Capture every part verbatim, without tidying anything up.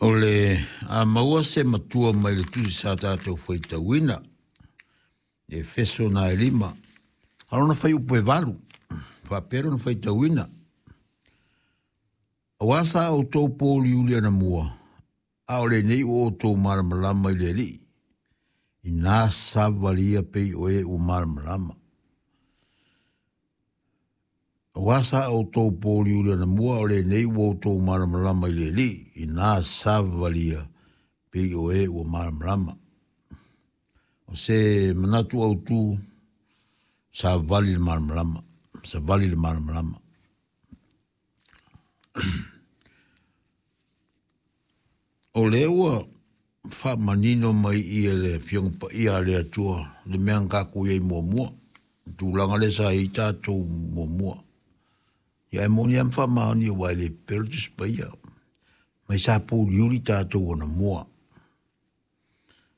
O le a maua se matua mai le tusi sa tatou faitauina, Efeso na e lima, a lona fuaiupu e valu, faapea lona faitauina. Aua sa outou pouliuli anamua, a o lenei ua outou malamalama i le Alii, ina savalia pei o e ua malamalama. Aua sa outou pouliuli anamua, o lenei ua outou malamalama i le Alii, ina savalia pei o e ua malamalama. O se manatu autu, savali le malamalama, savali le malamalama. O lea ua faamanino mai ia le Afioga Paia a le Atua, le mea na tatou i ai muamua, le tulaga lea sa i ai tatou muamua. Ia e moni lava ma faamaoni aua e le pepelo le Tusi Paia. Mai sa pouliuli tatou anamua.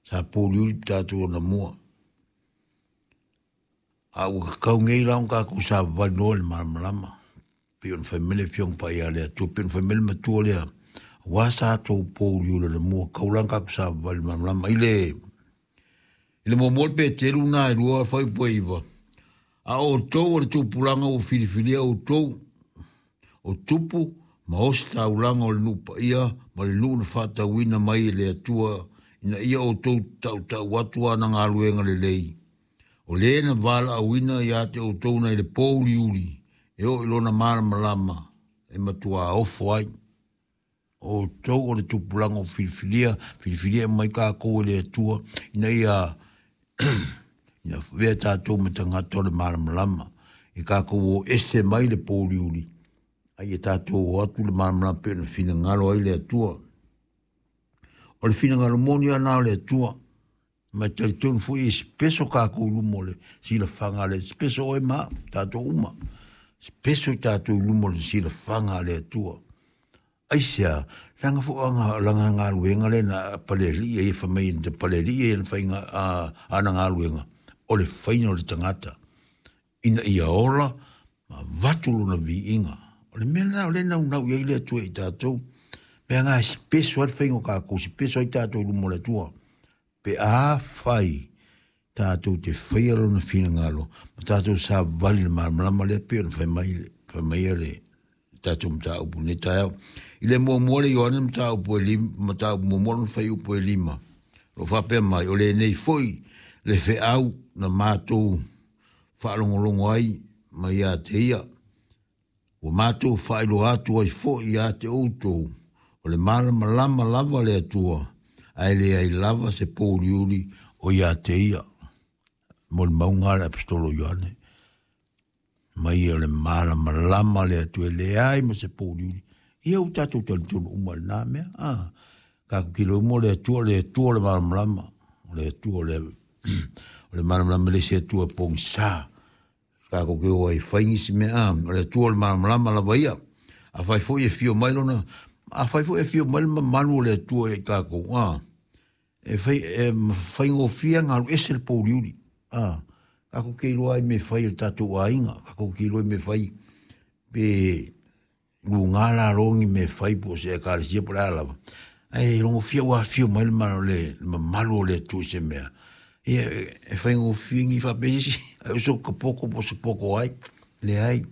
Sa pouliuli tatou anamua. A ua tatau nei la ona tatou savavali loa i le malamalama. Pei ona fai mai le Afioga Paia a le Atua, pei ona fai mai le matua lea, aua sa tou pouliuli anamua, tatau la ona tatou savavali i le malamalama. I le, i le muamua le Peteru na e lua fuaiupu e iva, a outou o le tupulaga ua filifilia outou, o tupu ma ositaulaga o le nuu paia ma le nuu na faatauina mai e le Atua, ina ia outou tautau atu ana galuega lelei, o le na valaauina ia te outou nai le pouliuli, e oo i lona malamalama e matua ofo ai. O outou o le tupulaga o filifilia, filifilia mai tatou e le Atua, ina ia ina avea tatou ma tagata o le malamalama, i tatou o ese mai le pouliuli, a ia tatou o atu le malamalama pei ona finagalo ai le Atua. O le finagalo moni lava na o le Atua. Ma e talitonu foi e speso tatou i luma o le silafaga a le speso oe ma au, tatou uma. Speso i tatou i luma o le silafaga a le Atua. Aisea, leaga foi o lana galuega lea na palealii ai e fai mai na palealii ai ana faiga, ana galuega, o le faiga o le tagata ina ia ola ma avatu lona viiga. O le mea lena o lea e naunau i ai le Atua i tatou. Mea na e speso ai le faiga o tatou, speso ai tatou i luma o le Atua. Pe a fai tatou te faia lona finagalo ma tatou savavali i le malamalama lea pei ona fai mai, fai mai le tatou mataupu i lenei taeao. I le muamua le Ioane mataupu e lima, mataupu muamua lona fuaiupu e lima, o lo o faapea mai, o lenei foi le feau na matou faalogologo ai mai ia te ia, ua matou faailoa atu ai foi ia te outou, o le malamalama lava le Atua, ae leai lava se pouliuli o ia te ia. Molimauga a le Aposetolo Ioane, mai o le malamalama le Atua, e leai ma se pouliuli. Ia ua tatou talitonu uma i lena mea. Ah, tatou te iloa uma o le Atua, o le Atua o le malamalama, o le Atua o le, o le malamalama, le isi Atua pogisa. Tatou te o ai fai nisi mea, ah, o le Atua o le malamalama lava ia. Afai foi e fio mai lona, afai foi e fio mai le mamalu o le Atua ia i tatou, ah, e fai, e faigofie ona alu ese le pouliuli. Ah, tatou te iloa ai mea fai e le tatou aiga, tatou te iloa ai mea fai pe luga lalo ni mea fai po o se ekalesia po o le a lava. Ae logofia ua afio mai le le mamalu o le Atua i se mea. Ia, e faigofie ni faapea isi, ai o se poko po o se poko ai. Leai,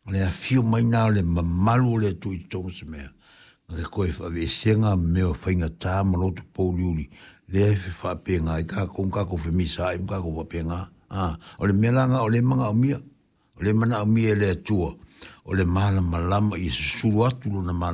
o le afio mai na o le mamalu o le Atua i totonu o se mea. Na te toe faaveesega mea o faigata ma loto pouliuli, lea e faapenga ai tatou, ma tatou femisaai ma tatou faapenga. Ah, o le mea la na o le manaomia, o le manaomia e le Atua, o le malamalama ia susulu atu lona malamalama.